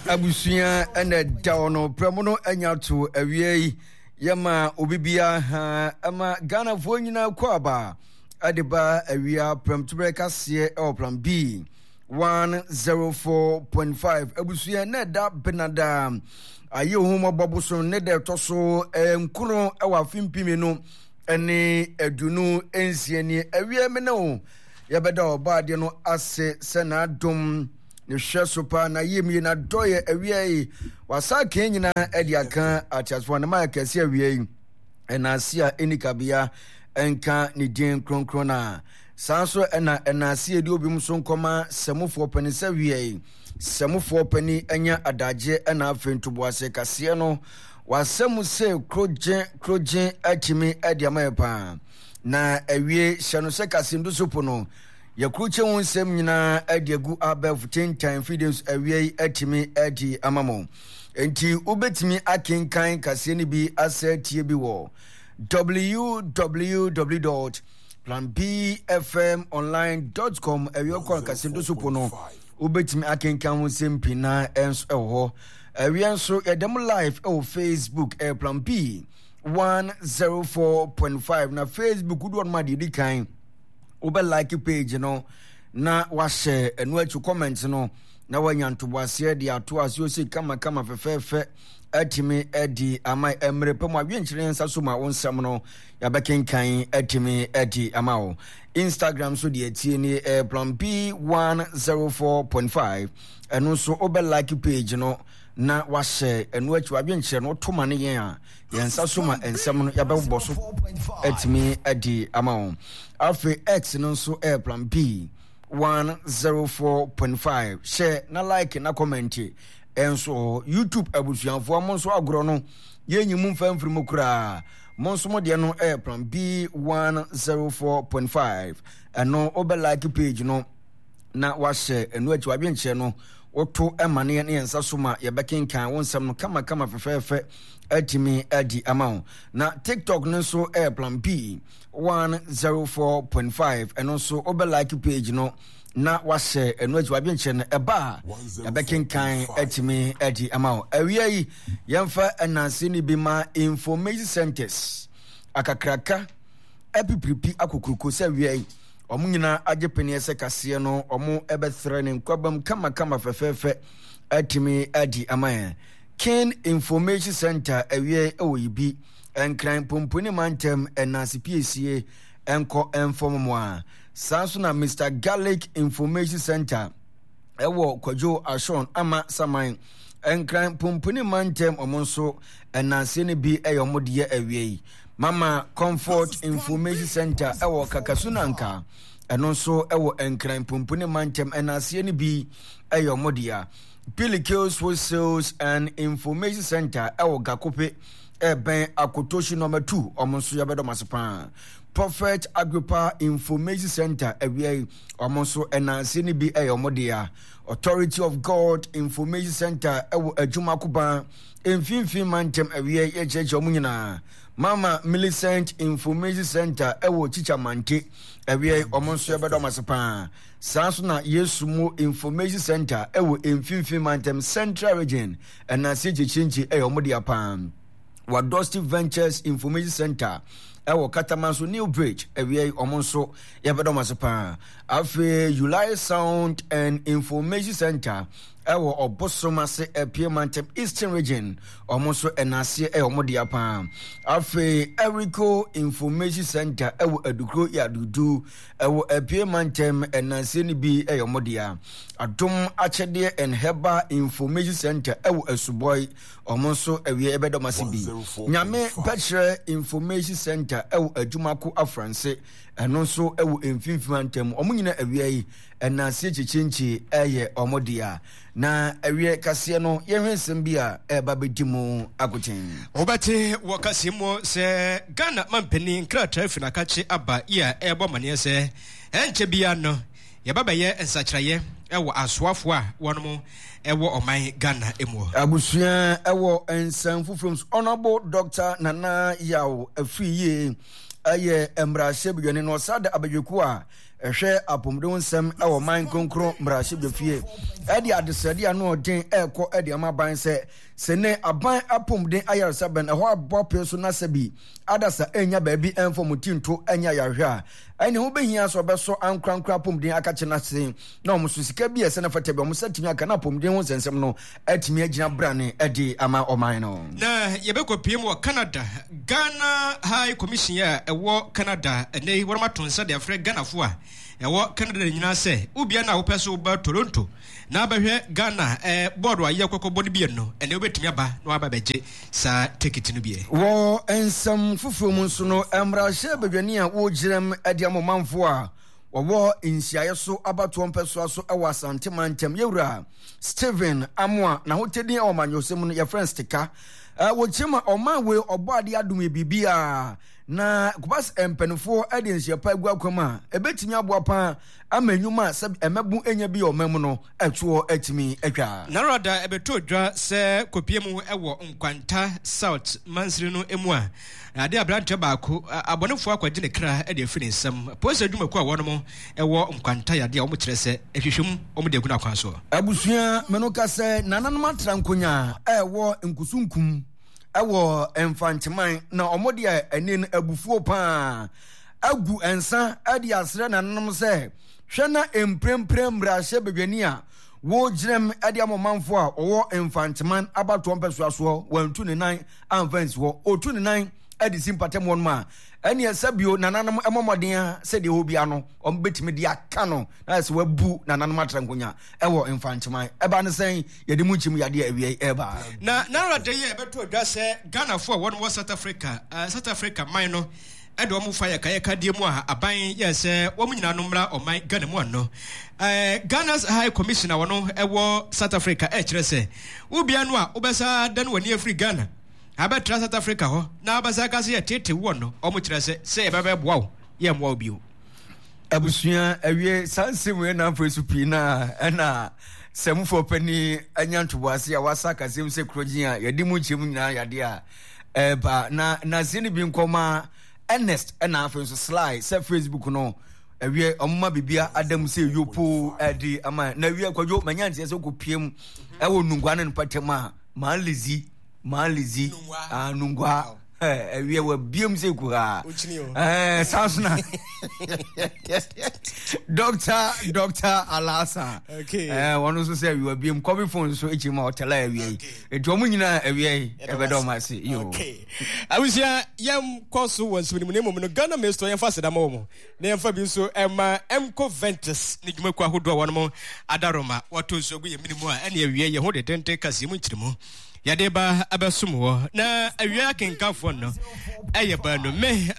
Abusua ɛna ɛda hɔ no prɛmo no anya to awia yi yɛma obi biara ha ɛma Ghanafoɔ nyinaa kɔ aba ɛde ba awia prɛmtoberɛ kaseɛ ɛwɔ plan B 104.5 abusua na ɛda benada ayɛ ohun mɔbɔ bosom ne da ɛtɔ so nkono ɛwɔ afe mpimi no ɛne 26 nie awia me ne wo yɛbɛda ɔbaadeɛ no ase sɛ n'adom ne hwɛ so paa na yie mie na dɔyɛ awia yi wasa kan nyinaa ɛde aka ateasefoɔ ne ma kɛse awia yi ɛna ase a ɛni kabea ɛnka ne din kronkron na saa nso ɛna ɛna ase ɛdi obi mu so nkɔma sɛmofoɔ panin sɛ awia yi sɛmofoɔ panin anya adagye ɛna afei ntoboase kaseɛ no wasɛm sɛ krogye krogye atumi ɛde ama yɛ paa na awie hyɛ no sɛ kasendu so po no Yɛakrukye wo nsɛm nyinaa de agu abɛɛfo tentan mfidie nso awia yi atumi adi ama mo. Enti wobɛtumi akenkan kaseɛ no bi asɛ tie bi wɔ www.planbfmonline.com awia kɔ kaseɛ do so po no wobɛtumi akenkan ho nsɛm pii na ɛnso ɛwɔ hɔ. Awia nso yɛda mu live ɛwɔ Facebook ɛyɛ Plan B 104.5 na Facebook wodoɔ no ma deɛ ɛdi kan wobɛ like page no na wahyɛ ɛno akyi comment no na wanya ntoboaseɛ de ato ase ose kamakama fɛfɛɛfɛ atumi adi ama mmerɛ pɛ mu adwenkyerɛ yɛn nsa so ma wo nsɛm no yɛabɛkenkan atumi adi ama wo Instagram so deɛ tie ni eh, plan B 104.5 ɛno nso wobɛ like page no na wahyɛ ɛno akyi wadwenkyerɛ no woto ma no yɛn a yɛn nsa so ma nsɛm no yɛbɛbobɔ so atumi adi ama wɔn afei x no nso ɛyɛ plan b 104.5 hyɛ na like na comment ɛnso hɔ youtube abusuafoɔ mo nso agorɔ no yɛnyi mu mfa mfiri mu koraa mo nso mo deɛ no ɛyɛ plan b 104.5 ɛno wobɛ like page no na wahyɛ ɛno akyi wadwenkyerɛ no woto ma no yɛn yɛn nsa so ma yɛbɛkenkan wo nsɛm no kamakama fɛfɛɛfɛ atumi adi ama wo na tiktok no nso ɛyɛ plan p 104.5 ɛno nso wobɛ like page no na wahyɛ ɛno akyi wadwenkyerɛ no ɛba a yɛbɛkenkan atumi adi ama wo awia yi yɛmfa ɛnanse no bi ma information centers akakraka apipiripi akokuroko sɛ awia yi Wɔn nyinaa agye peneɛ sɛ kaseɛ no wɔn bɛtrɛ ne nkwabam kamakama fɛfɛɛfɛ atumi adi ama yɛn. King Information Center awiɛ wɔ Yibi, Nkran Pomponi mantam ɛnanse piesie nkɔ mfam mu a. Saa nso na Mister Garlic Information Center ɛwɔ Kwadwo Ashon Ama Saman Nkran Pomponi mantam wɔn nso ɛnanse no bi ɛyɛ wɔn deɛ awiɛ yi. Mama Comfort Information Center ɛwɔ Kakasunanka ɛno nso ɛwɔ Nkran Pomponi mantam ɛnanseɛ no bi ɛyɛ wɔn dea. Pilikills Wholesales and Information Center ɛwɔ Gakope ɛbɛn Akotoshi nɔma 2 wɔn nso yɛbɛdɔm ase paa. Prophet Agrippa Information Center awia yi wɔn nso ɛnanseɛ no bi ɛyɛ wɔn dea. Authority of God Information Center ɛwɔ Adwumakoban Mfinfin mantam awia yi yɛkyerɛkyerɛ wɔn nyinaa. Mama Millicent Information Center ɛwɔ Chicha Mante awia yi wɔn nso yɛbɛdɔ wɔn ase paa. Saa nso na Yesu Mu Information Center ɛwɔ Mfinfin mantam Central Region ɛnase kyekyerɛnkye ɛyɛ wɔn dea paa. Wadosti Ventures Information Center ɛwɔ Katamanso New Bridge awia yi wɔn nso yɛbɛdɔ wɔn ase paa. Afei Ulai Sound and Information Center ɛwɔ Ɔbosom ase Apue Mantam Eastern Region wɔn nso ɛnaaseɛ ɛyɛ wɔn dea paa. Afei Eriko Information Center ɛwɔ Adukuro Yadudu ɛwɔ Apue Mantam ɛnaaseɛ no bi ɛyɛ wɔn dea. Adom Akyɛdeɛ and Herbal Information Center ɛwɔ Asubɔi wɔn nso ɛwiɛ ɛbɛdɔm ase bi. Nyame Bɛkyerɛ Information Center ɛwɔ Adwumako Afranse ɛno nso ɛwɔ Mfimfini Mantam wɔn nyinaa awia yi Ɛnanseɛ kyekyenkye yɛ wɔn dea. Na awiɛ kaseɛ no, yɛnhwɛ nsɛm bi a ɛreba bɛdi mu akoten. Wobɛte wɔ kaseɛ mu sɛ Ghana mampanin nkrataa fi n'akakye aba yi a ɛrebɔ amaneɛ sɛ ɛnkyɛ biara no yɛba bɛyɛ nsakyeraeɛ wɔ asoafoɔ a wɔnom wɔ ɔman Ghana mu. Abusua wɔ nsɛm foforɔ mu so, Honourable Doctor Nana Yaw Afriyie yɛ mmarahyɛbadwani na ɔsan da abadwakuo a. ɛhwɛ apɔmuden ho nsɛm wɔ man kronkron mmarahyɛbadwafie ɛde adesrɛde ano ɔden ɛrekɔ ɛde ama aban sɛ sɛ ne aban apɔmuden ayaresabɛn ɛhɔ abɔ apee so na sɛ bi adasa ɛnya baabi ɛmfa wɔn ti nto ɛnyɛ ayarehwɛ a ɛne ho bɛhia sɛ ɔbɛsɔ ankorankora apɔmuden akakye no ase na wɔn so sika bi a ɛsɛ na fata bi wɔn nsa tumi aka na apɔmuden ho nsɛnsɛm no atumi agyina brane de ama ɔman no. Na yɛbɛkɔpue mu wɔ Canada. Ghana High Commission a ɛwɔ Canada ɛnnɛ yi wɔn ato nsa de afrɛ Ghanafo a ɛwɔ Canada nyinaa sɛ wobia no a wopɛ so woba Toronto na abɛhwɛ Ghana eh, bɔɔdo a yɛ kɔkɔbɔ no bi no ɛnɛ wobɛtumi aba na waba bɛgye saa tekiti no bi. Wɔ nsɛm foforɔ mu nso no, mmarahyɛ badwani a wɔgyinam de ama ɔmanfoɔ a wɔwɔ nhyiaeɛ so abatoɔ mpɛsoa so wɔ Asante mantam, Yɛwura Stephen Amoah, n'ahotɛdin wɔ amanyɔsɛm mu no yɛfrɛ no Stika. Wɔkyerɛ mu a ɔman wei ɔbɔ adeɛ adom yɛ biribiara na kɔba sɛ mpanimfoɔ de nhyia pa agu akwam a ɛbɛtumi aboa paa ama nnwuma a sɛ ɛmɛbo nya bi wɔ ɔman mu no ɛtoɔ atumi atwa. Narada ɛbɛtɔ dwa sɛ kɔpie mu wɔ Nkwanta South mansini no mu a ade aberanteɛ baako abɔnefoɔ akɔgye ne kra de afiri ne nsam. Polisi adwumakuo a wɔnom wɔ Nkwanta yɛ adeɛ a wɔkyerɛ sɛ nhwehwɛmu wɔn de agu no akwan soɔ. Abusua me no ka sɛ nananom atra nkonya a ɛwɔ Nkusunkum wɔ Mfanteman na wɔn deɛ ɛne no abufuo paa agu nsa de asrɛ nananom sɛ hwɛ na mprempren mmarahyɛ badwani a wɔgyinam de ama ɔmanfoɔ a wɔwɔ Mfanteman abatoɔ mpɛsoa soɔ wantu ne nan amfa ansi hɔ ɔtu ne nan de si mpatamu hɔnom a ɛneɛ sɛ bio nananom mmɔ mmɔden a sɛdeɛ ɛwɔ bia no wɔn bɛtumi de aka no na sɛ wabu nananom atra nkonya ɛwɔ Mfanteman ɛba ne sɛn yɛde mu nkyɛmu yadeɛ awia yi ɛba. Na nara da yi a ɛbɛto adwa sɛ Ghanafoɔ a wɔn wɔ South Africa, South Africa man no de wɔn fa yɛkayɛkadeɛ mu a aban yɛɛ sɛ wɔn nyinaa no mmra ɔman Ghana mu ano. Ghana's High Commissioner wɔn wɔ South Africa ɛkyerɛ sɛ wobia no a wobɛsa dane w'ani afiri Ghana abɛtra South Africa hɔ na abɛsa aka sɛ yɛtete woɔ no, wɔn kyerɛ sɛ sɛ yɛbɛbɛboa wo yɛmmoa wo bio. Abusua awie saa nsɛm wei na afei so pii na ɛna sɛmufoɔ panin anya ntoboase a wasa kasɛm sɛ kurogyen a yɛde mu nkyɛmu nyinaa yadeɛ a ɛba na naseɛ no bi nkɔma Ernest ɛna afei nso Sly sɛ Facebook no awie ɔmoma bibia adam sɛ yopo ɛde ama na awie kwadwo manya nteɛ sɛ wokɔpiem ɛwɔ nungua ne mpɔtam a maa lizi maa lizi nungua ɛwiɛ wɔ biem sɛ kuhaa ɛɛ saa so na dɔkta dɔkta alasa ɛɛ wɔn nso sɛ ɛwiɛ biem kɔbi fon nso ekyi ma ɔtɛlɛ ɛwiɛ yi etu wɔn nyinaa ɛwiɛ yi ɛbɛdɛ wɔn ase yoo. Abusua yɛn kɔ so wɔ nsɛm no mu na mmom no Ghana Maestro yɛn fa aseda ma wɔn na yɛn fa bi nso ɛma Mco Ventus ne dwumakuo ahodoɔ a wɔn adaroma wɔto nsuo gu yɛn mene mu a ɛne ɛwiɛ yɛn ho dedenden kaseɛ mu nkyerɛmu. Yɛde ba abɛsom wɔ na awia akenkanfoɔ no ɛyɛ baanu me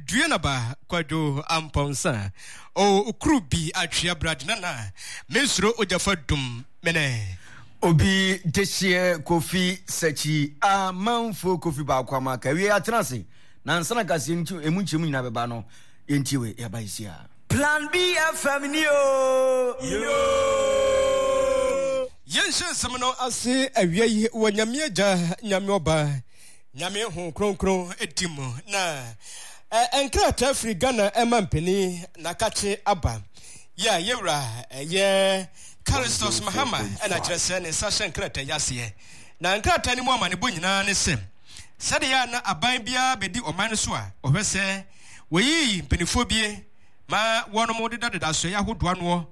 Duanaba Kwadwo Ampɔnsa o kuru bi atwea brad nana me nsuro ogyafa dum mene. Obi dehyeɛ Kofi Sakyi amanfoɔ Kofi baako ama aka awie atena ase na ansa na kaseɛ no emu nkyɛmu nyinaa bɛba no yɛntie wei yɛba yɛsi a. Plan B FM ni oo. Yoo. Yɛnhyɛ nsɛm no ase awia yi wɔ Nyame Agya, Nyame Ɔba, Nyame Honhom Kronkron di mu. Na nkrataa firi Ghana ɛma mpanin n'akakye aba. Yɛ a yɛwura ɛyɛ Callistus Mahama ɛna kyerɛ sɛ ne nsa hyɛ nkrataa yi aseɛ. Na nkrataa no mu amanebɔ nyinaa ne sɛ sɛdeɛ a na aban biara bɛdi ɔman no so a ɔhwɛ sɛ wɔyiyi mpanimfoɔ bie ma wɔnom dedadeda asoɛeɛ ahodoɔ anoɔ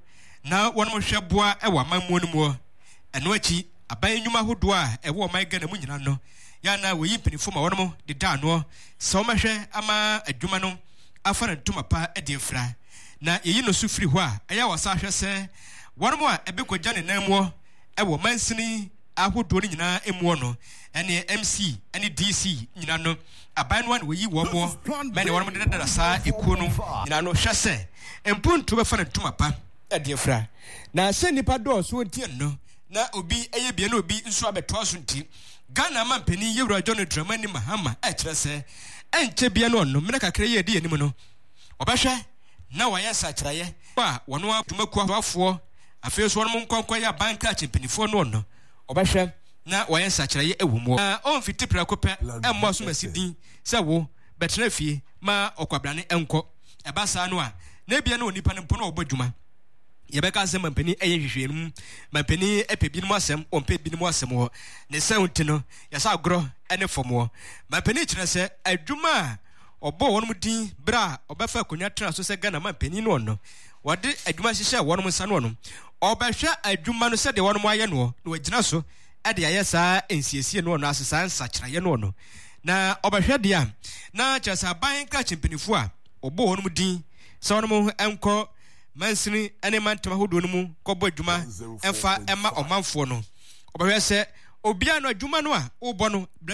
na wɔnom hwɛ boa wɔ amammuo no muɔ. Ɛno akyi, aban nnwuma ahodoɔ a ɛwɔ ɔman Ghana mu nyinaa no, yɛ a na wɔyi mpaninfoɔ ma wɔnom deda anoɔ sɛ wɔmɛhwɛ ama adwuma no afa ne ntoma pa de afira. Na yɛyi no so firi hɔ a, ɛyɛ a wɔsan hwɛ sɛ wɔnom a ɛbɛkɔgya ne nan muɔ wɔ mansini ahodoɔ no nyinaa muɔ no, ɛne MC ne DC nyinaa no, aban no a na wɔyi wɔn muɔ mɛne wɔnom dedadada saa ekuo no nyinaa no hwɛ sɛ mpuntuo bɛfa ne ntoma pa de afira. Na sɛ nnipa dɔɔso nti no, na obi yɛ bia na obi nso abɛtoa so nti, Ghana manpanin Yewura John Dramani Mahama kyerɛ sɛ ɛnkyɛ bia no ɔno mmerɛ kakra yi a ɛdi anim no, ɔbɛhwɛ na wayɛ nsakyeraeɛ a wɔn adwumakuo afoɔ afei nso wɔn nkɔnkɔ yɛ aban krakye mpanimfoɔ no ɔno ɔbɛhwɛ na wayɛ nsakyeraeɛ wɔ mu. Na ɔmfiti prɛko pɛ mmɔ asomasi din sɛ wo bɛtena fie ma ɔkwabrane nkɔ. Ɛba saa no a, Na ebia na onipa no mpo na ɔbɔ adwuma. Yɛbɛka sɛ mampanin ɛyɛ nhwehwɛmu, mampanin ɛpɛ binom asɛm, ɔmpɛ binom asɛm wɔ ne sɛ nti no, yɛsɛ agorɔ ne fam wɔ. Mampanin kyerɛ sɛ adwuma a ɔbɔɔ wɔn din berɛ a ɔbɛfa akonnwa tena so sɛ Ghana mampanin no ɔno, wɔde adwuma hyehyɛɛ wɔn nsa no ɔno, ɔbɛhwɛ adwuma no sɛdeɛ wɔn ayɛ noɔ na wagyina so de ayɛ saa nsiesie no ɔno ase saa nsakyeraeɛ no ɔno. Na ɔbɛhwɛ deɛ a na kyerɛ sɛ aban nkrakye mpanimfoɔ a wɔbɔɔ wɔn din sɛ wɔn nkɔ mansini ne mantam ahodoɔ no mu kɔbɔ adwuma mfa ma ɔmanfoɔ no. Ɔbɛhwɛ sɛ obiara no adwuma no a wobɔ no.